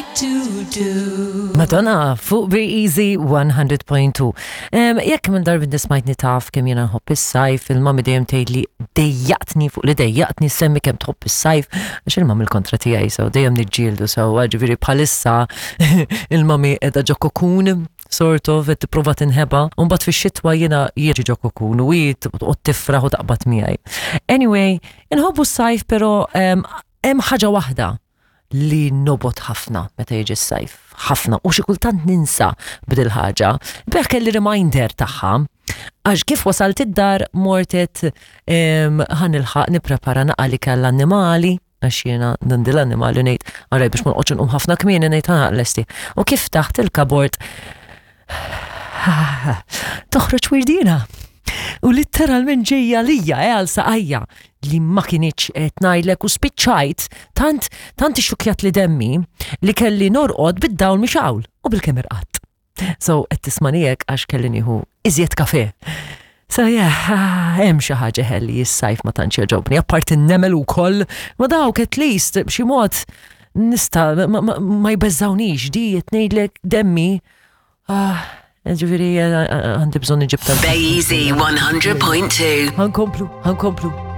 like to do. Madonna fuq Be Easy 100.2. Jekk minn darbi nismajtni taf kemm jiena nħobb is-sajf, il-mami dejjem tgħidli dejjaqtni fuq li dejjaqtni semmi kemm tħobb is-sajf, għax il-mami l-kontra tiegħi so dejjem niġġieldu sewwa, ġifieri bħalissa il-mami qiegħda ġo kokun sort of qed tipprova tinħeba, u mbagħad fix-xitwa jiena jiġi ġo kokun u hi toqgħod tifraħ u taqbad miegħi. Anyway, inħobbu s-sajf però hemm ħaġa waħda li nobgħod ħafna meta jiġi s-sajf, ħafna, u xi kultant ninsa b'dil ħaġa. Beħ kelli reminder tagħha, għax kif wasalt id-dar mortet ħa nilħaq nipprepara naqa li kell annimali, għax jiena nandi l-annimali ngħid, għaraj biex ma noqgħodx inqum ħafna kmieni ngħid ħa lesti. U kif taħt il-kabord toħroġ wirdina. U litteralment ġejja lija eh, għal saqajja li ma kinitx qed ngħidlek u spiċċajt tant tant ixxukkjat li demmi li kelli norqod bid-dawl mixgħul u bil-kemm irqadt. So qed tismani hekk għax kelli nieħu iżjed kafe. So yeah, hemm xi ħaġa ħelli s-sajf ma tantx jogħġobni, apparti n-nemel ukoll, ma dawk at least b'xi mod nista' ma jbeżżawnix di qed ngħidlek demmi ah, ġifieri għandi bżonn iġib tal. Bay Easy 100.2. Ħankomplu, ħankomplu.